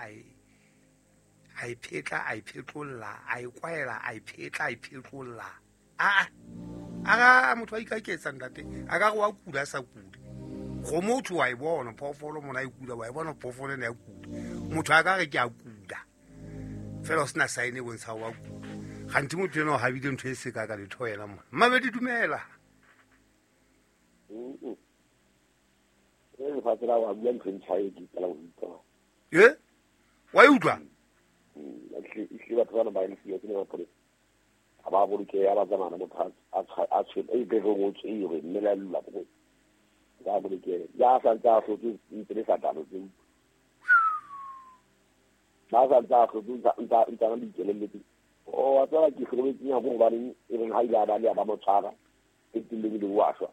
a e a e phetla a e phetlolla a e kwaela a e phetla a e phetlolla aa a ga motho a ikaketsa ntate a ka re wa kula a sa kule go motho wa e bona phoofolo mona e kula wa e bona phoofolo ena ya kula motho a ka re ke a kula fela o sena saene e bontsha wa kula gantsi motho ena o habile ntho e seka ka letho yena mona mmabedi dumela. Lefatshe la wa bua ntho e ntšha e ke qala go utlwa. E wa e utlwa? Ehlile batho bana ba le ke mapolesa ga ba bolokeya ba tsamaya motho a tshwele e bereng o tswere mme la lula bo ba bolokeya ya sa ntse a hlotse ntse le sa talo tse ba sa ntse a hlotse ntse a dikeleletse o wa tseba ke hlobetseng ya go gobaneng e reng ha ile a ba le ya ba mo tshwara e tilleng le wa shwa.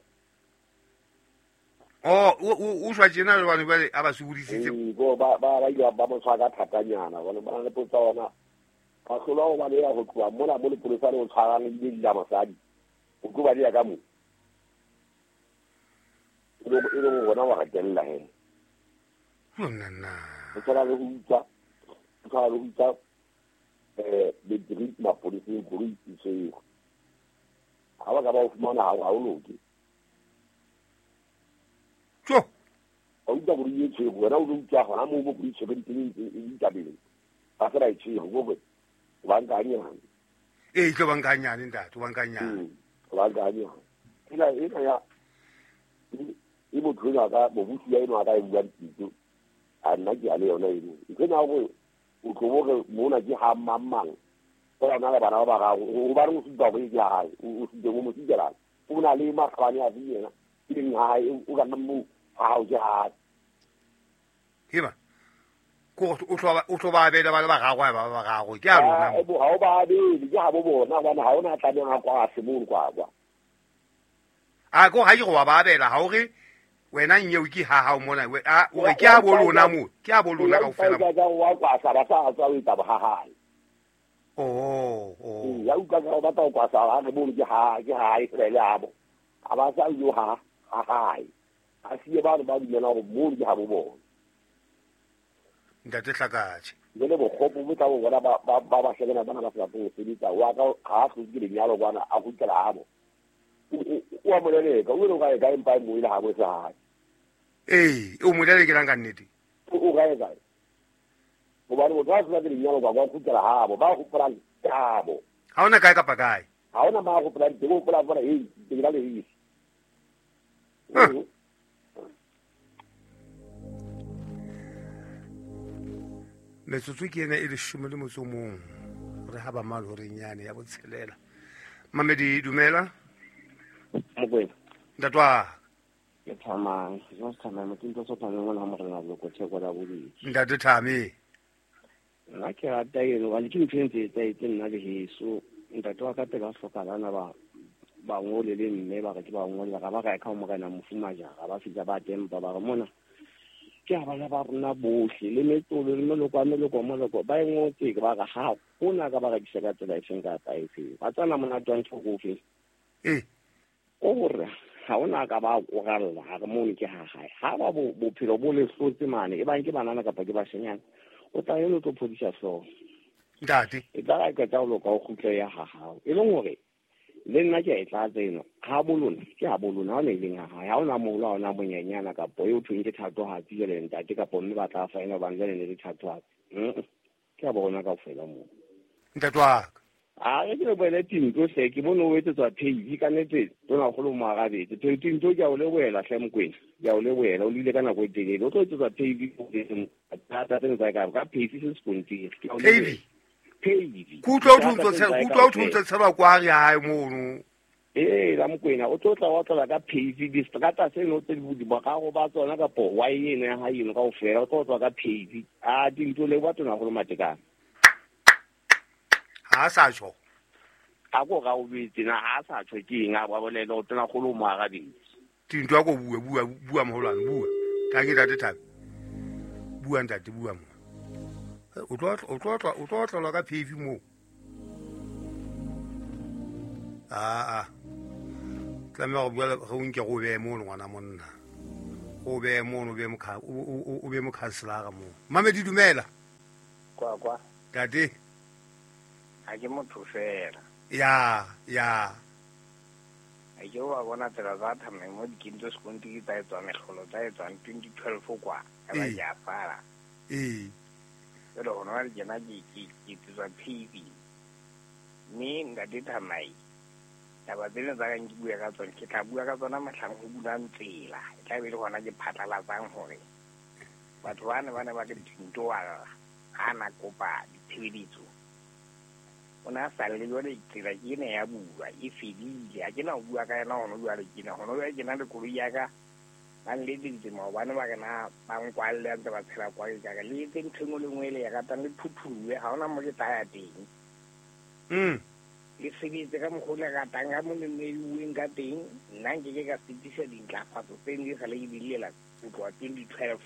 O o shwa tjena jwale jwale a ba sokodisitse. Bo ba ba ba ile ba mo tshwara ka thatanyana bone ba na le potsa ona ba hlolwa ho baleha ho tloha mona mo lepolesa le o tshwarang ebile di la mosadi o tlo baleha ka mo e leng gona wa gatelela he. O tshwana le go utswa, o tshwana le go utswa battery mapoleseng koloi e tshwerwe ga ba ka ba o fumana ga o loke. Tjo. Wa utlwa koloi e tshwerwe wena o lo utswa gona moo mo koloi tshwerwe teng e itabeng ba se ba e tshwerwe kore o banka hanyane. Ee, tlo banka hanyane ntate, o banka hanyane. O banka hanyane. Ena ena ya e motho enwa ka mobusi ya enwa ka e buang pitso a nna ke a le yona eno ntho ena gore o tlo bore mona ke ha mang mang o na le bana ba bararo o ba re o supa gore ke ha hae o supe mo mosikelang o na le makgabane a yena ke leng ha hae o ka nna mo ha hao ke ha hae. Heba ko o tlo ba abela ba le bararo ba ba bararo ke a lona. Ha o ba abele ke ha bo bona hobane ha ona tlamehang a kwa se mono kwa kwa. A ko ha ke go ba abela ha o re wena nyeo ke ha hao mona a o re ke a bo lona mo ke a bo lona kaofela. Ka wa kwa sa ba sa tswa o etsa ha hae. Oh oh. Ya utlwa ka ba tla kwa sa ha re bone ke ha e fela le abo. A ba sa yo ha ha hae. A siye ba ba dumela gore mo ke ha bo bona. Ntate Hlakatjhe. Jwale bokgopo bo tla bo bona ba ba ba hlekena bana ba sa go sebetsa wa ka ha hlotse ke lenyalo kwana a kgutlela abo. O a moleleka o ile o kae kae mpa mo ile ha bo sa hae. Ee, o molelekelang ka nnete. O kae kae? Hobane motho a hlotse ke lenyalo kwa kwa kgutlela habo ba hopolang abo. Ha ona kae kapa kae? Ha ona ma hopolang teng o hopola bona hey ke la le hisi. Metsotso ke ena e 11 re ha ba malo re nyane ya botshelela. Mamedi dumela. Mokwena. Ntatwa. Ke thamang, jo thamang motho so thamang ngwana morena loko theko la bobedi. Ntate Thame. Nna ke rata eno ba le ke ntho e ntse e nna le heso. Ntate wa ka pele a hlokalana ba ba ngole le mme ba re ke ba ngole ga ba ka ka morena mofumajara ba fitla ba tempa ba re mona ke a bana ba rona bohle le metsolo le meloko a meloko moloko ba e ngotse ke ba re ha hona ka ba rekisa ka tsela e seng ka efe ba tsana monate wa ntho go fe ee o gore ha ona ka ba koralla ha re mono ke ha hae ha ba bophelo bo le hlotse mane e bang ke banana kapa ke bashenyana o tla eno tlo phodisa hlooho ntate e tla ka qeta ho loka o kgutle ya ha hao e leng hore le nna ke a e tlatsa eno ha bolona ke ha bolona ha ona e leng ha hae ha ona moholo ha ona monyenyana kapo eo thweng ke thatohatsi jwale ntate kapo mme ba tla faena hobane jwale ne le thatohatsi ke a bona kaofela moo ntate wa ka. A re ke lebohele Tinto hle ke bone o etsetswa page ka nnete tonakgolo mo arabetse Tinto ke a o lebohela hle Mokwena ke a o lebohela o lile ka nako e telele o tlo etsetswa page thata tseno tsa ka page se sekontiri ke a o lebohela page kutlwa o thuntse tshelwa kwa re hae mono ee la Mokwena o tlo tla wa tlola ka page distrata seno tse di bogago ba tsona kapo wa eno ya hae eno kaofela o tlo tswa ka page a Tinto le wa tonakgolo Matekane ha sa tjho a ko ga o betse na ha sa tjho ke eng a ba bolele o tonakgolo mo arabetse Tinto a ko bua bua bua moholwane bua ka ke ntate Thabe bua ntate bua mo o tlo tlolwa ka pavy moo a tlameha go bua go nke go beye mono ngwana monna o beye mono o be mokhanselara moo. Mamedi dumela. Kwa kwa. Tate. Ha ke motho fela. Ya, ya. Ha ke wa bona tsela tsa thame mo dikintso sekontiri tsa etswa mehlolo tsa etswa 2012 kwa. Ka ba ke apara. Ee. Jwale hona jwale tjena ke tswa TV. Mme ntate Thamai, taba tsena tsa ka ke bua ka tsona, ke tla bua ka tsona mohlang ho bulang tsela. E tla be le hona ke phatlalatsang hore batho ba ne ba ne ba ke dintoa ha na kopa ditshebeletso. O na sa le jwale tsela ke ena ya bua e fedile. Ha ke na ho bua ka yona hona jwale ke na hona jwale ke na le koloi ya ka. Ba nletseditse maobane ba re na ba nkwalle a ntse ba tshela kwa ke ka le etse ntho e nngwe le nngwe e le ya ratang le phuthuwe ha hona mo ke tla ya teng. Le sebetse ka mokgwa o le ratang ka mo le neuweng ka teng. Nna nke ke ka fetisa dintlafatso tse ne sa le ke di llela ho tloha 2012.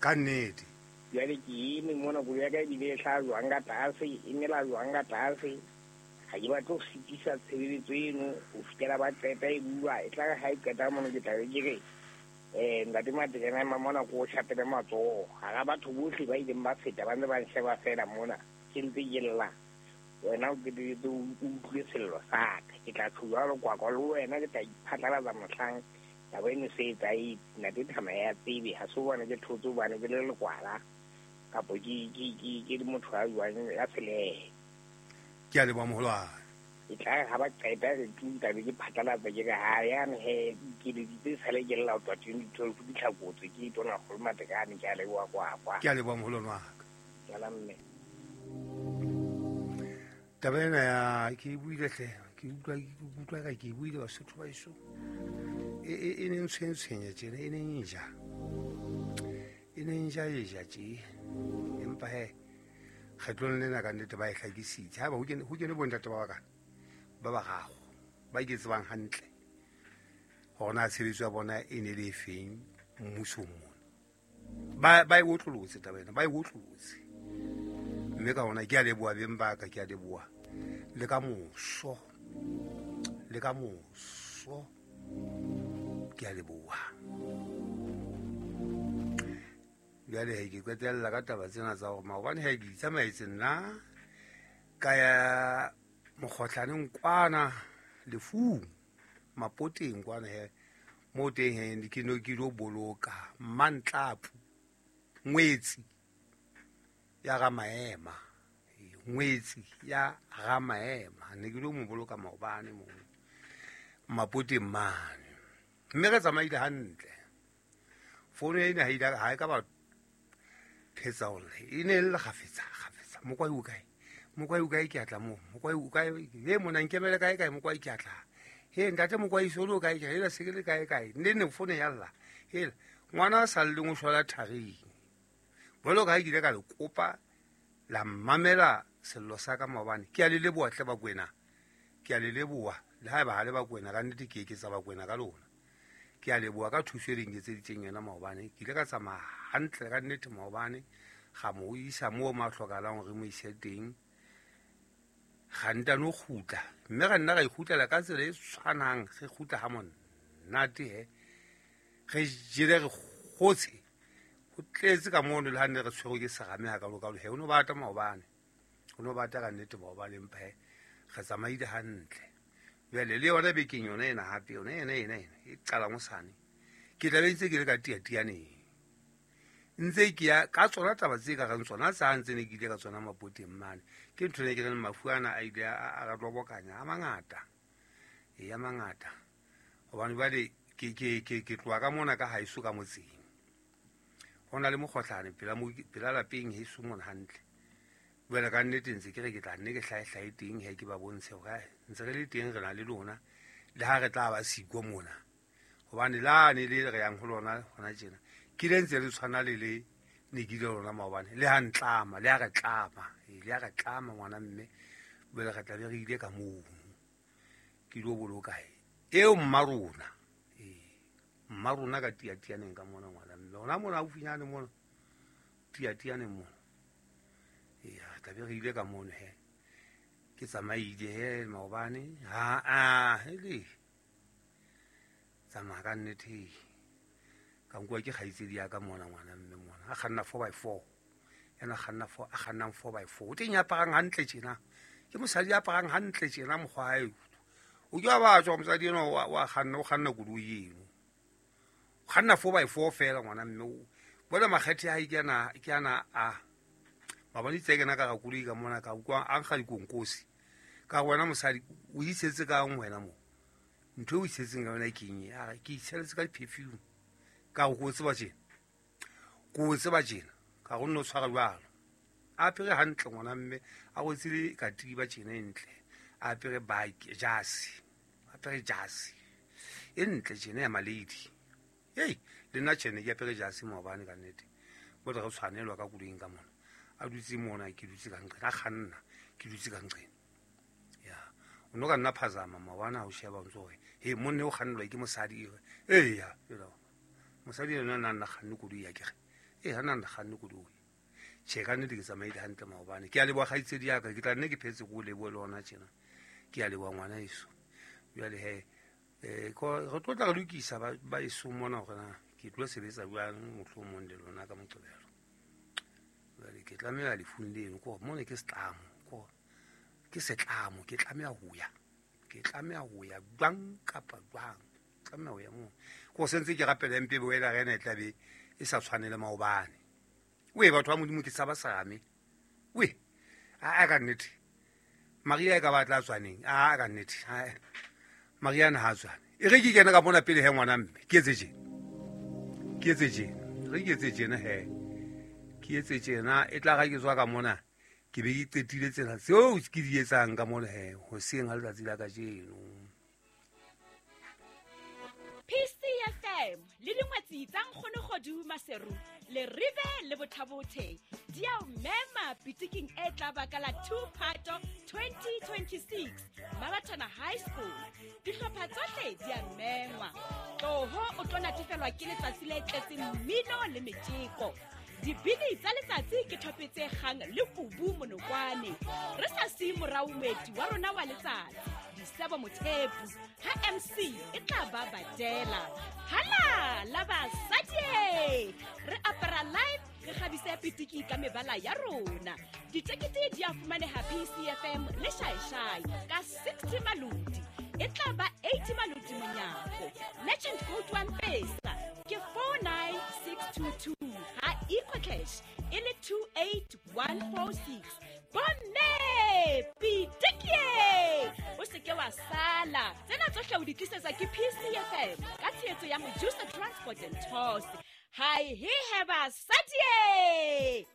Ka nnete. Jwale ke eme mona koloi ya ka ebile e hlaha jwang ka tlase, e mela jwang ka tlase. Ha ke batle ho sitisa tshebeletso eno ho fihlela ba qeta e bua. E tla re ha e qeta mono ke tla be ke re ntate Matekane a ema mona ko o shapele matsoho. Hara batho bohle ba ileng ba feta ba ntse ba nsheba feela mona. Ke ntse ke lla. Wena o qetelletse o utlwile sello sa ka. Ke tla tjho jwalo kwakwa le wena ke tla iphatlalatsa mohlang taba eno se etsahetse. Ntate Thamai ya tsebe ha se hobane ke thotse hobane ke le lekwala kapo ke le motho a jwang ya selehe. Ke a leboha moholwane. E tla re ha ba qeta re tu tla be ke phatlalatsa ke re ha yane he ke le sale ke lla ho tloha 2012 di tlhakotswe ke Tonakgolo Matekane. Ke a leboha kwakwa. Ke a leboha moholwane wa ka. Ke a mme. Taba ena ya ke e buile hle, ke utlwa ka ke e buile Basotho ba heso. E ne ntshwentshwenya tjena, e ne nja. E ne nja e ja tje. Empa he kgetlong lena ka nnete ba e hlakisitse. Haeba ho kene bontate ba bakana ba bararo ba ke tsebang hantle hore na tshebetso ya bona e ne le efeng mmusong mona. Ba e otlolotse taba ena, ba e otlolotse. Mme ka hona ke a leboha beng ba ka, ke a leboha le ka moso, le ka moso ke a leboha. Jwale he ke qetella ka taba tsena tsa hore maobane he ke itsamaetse nna ka ya mokgohlaneng kwana lefung mapoteng kwana he mo teng he ke no ke lo boloka Mmantlapu ngwetsi ya ga maema, ngwetsi ya ga maema. Ne ke lo mo boloka maobane mo mapoteng mane. Mme re tsamaile hantle. Fono ena ha ile ha e ka ba phetsa hore e ne le kgafetsa kgafetsa. Mokwai o kae? Mokwai o kae ke atla mo? Mokwai o kae? Le mona nkemele kae kae mokwai ke atla. He ntate mokwai solo kae ke ela se ke le kae kae. Nne ne fono ya lla. Hela ngwana a sa lleng o shwela tharing. Jwalo ka ha ke ile ka le kopa la mmamela sello sa ka maobane. Ke a le leboha hle Bakwena. Ke a le leboha. Le haeba ha le Bakwena ka nnete ke eketsa Bakwena ka lona. Ke a leboha ka thuso e le nketseditseng yona maobane. Ke ile ka tsamaya hantle ka nnete maobane. Ga mo isa moo mo a hlokahalang hore re mo ise teng. Ga ntano kgutla. Mme ra nna ra ikgutlela ka tsela e tshwanang. Re kgutla ha monate he. Re jele re kgotse. Ho tletse ka mono le ha ne re tshwerwe ke serame ha kalokalo he. O no bata maobane. O no bata ka nnete maobane empa he re tsamaile hantle. Jwale le yona bekeng yona ena hape yona ena ena ena e qalang hosane. Ke tla be ntse ke le ka tiatianeng. Ntse ke ya ka tsona taba tse ka reng tsona tsa ntse ne ke ile ka tsona mapoteng mane. Ke ntho ne ke reng mafu ana a ile a re lobokanya a mangata. E a mangata. Hobane jwale ke tloha ka mona ka haeso ka motseng. Ho na le mokgohlane pela lapeng heso mona hantle. Jwale ka nnete ntse ke re ke tla nne ke hlahe teng he ke ba bontshe hore ntse re le teng re na le lona le ha re tla ba siko mona. Hobane la ne le re yang ho lona hona tjena. Ke le ntse le tshwana le le ne ke ile lona maobane. Le ha ntlama, le ha re tlama. Le ha re tlama ngwana mme. Jwale re tla be re ile ka moo. Ke lo boloka eo mma rona. Mma rona ka tiatianeng ka mona ngwana mme. Hona mona haufinyane mona. Tiatianeng mona. Ya tla be re ile ka mono he. Ke tsamaile he maobane. Ha a hele. Tsamaya ka nnete. Ka nkuwa ke kgaitsedi ya ka mona ngwana mme mona. A kganna 4x4. Ena kganna four a kgannang 4x4. O teng ya aparang hantle tjena. Ke mosadi ya aparang hantle tjena mokgwa hae. O ke wa ba tswa mosadi eno wa kganna o kganna koloi eno. O kganna 4x4 fela ngwana mme o bona makgethe a hae ke ana a mabone tse kena ka ga koloi ka mona ka utlwa a nkga dikonkosi. Ka wena mosadi o itshetse ka eng wena mo? Ntho e o itshetseng ka yona ke eng? A re ke itshetse ka di-perfume. Ka go tseba tjena. Ko tseba tjena. Ka go nno tshwara jwalo. A apere hantle ngwana mme a rwetse le katiba tjena e ntle. A apere bike jase. Apere jase. E ntle tjena ya malady. Hei, le nna tjena ke apere jase maobane ka nnete. Bo re tshwanelwa ka koloing ka mona. A dutse mona ke dutse ka nqena, a kganna ke dutse ka nqena. Ya, o no ka nna phazama maobane ha o sheba o ntso hore he monne o kgannelwa ke mosadi e. Eya, mosadi ena nna nna kganne koloi ya kere. E ha nna nna kganne koloi. Tjhe ka nnete ke tsamaile hantle maobane. Ke a leboha kgaitsedi ya ka, ke tla nne ke phetse ko lebohe le hona tjena. Ke a leboha ngwana heso. Jwale he re tlo tla re lokisa ba eso mona hore na ke tlo sebetsa jwang mohlomong le lona ka Moqebelo. Jwale ke tlameha lefung leno ke hore mona ke setlamo, ke setlamo, ke tlameha ho ya. Ke tlameha ho ya jwang kapa jwang. Tlameha ho ya moo. Ko sentse ke rapela mpe boela re ena e tla be e sa tshwane le maobane. We batho ba Modimo ke tshaba serame. We a ka nnete. Maria e ka ba tla tswaneng. A ka nnete. Maria na ha tswane. E re ke kena ka mona pele he ngwana mme. Ke etse tjena. Ke etse tjena. Re ke etse tjena he. Ke etse tjena e tla ga ke tswa ka mona. Ke be ke qetile tsena tseo ke di etsang ka mona he hoseng ha letsatsi la kajeno. PCFM le dingwetsi tsa Nkgono Kgodu Maseru le Rive le Bothabothe di a o mema pitiking e tla ba ka la 2 Phato 2026 Mabatana High School. Dihlopha tsohle di a mengwa. Tloho o tlo natefelwa ke letsatsi le tletseng mmino le metjeko. Dibini tsa letsatsi ke thope tse kgang le kubu monokwane. Re sa siye morao moeti wa rona wa letsatsi Disebo Mothepu ha MC e tla ba badela. Hala la basadi re apara live re kgabise pitiki ka mebala ya rona. Ditekete di a fumaneha PCFM le Shaishai ka 60 maloti. E tla ba 80 maloti monyako. Legend code 1 pesa ke 49622 ha EcoCash e le 28146. Bomme pitikie o se ke wa sala. Tsena tsohle o di tlisetsa ke PCFM ka tshehetso ya Mojusa Transport and Tours. Hi he he basadi.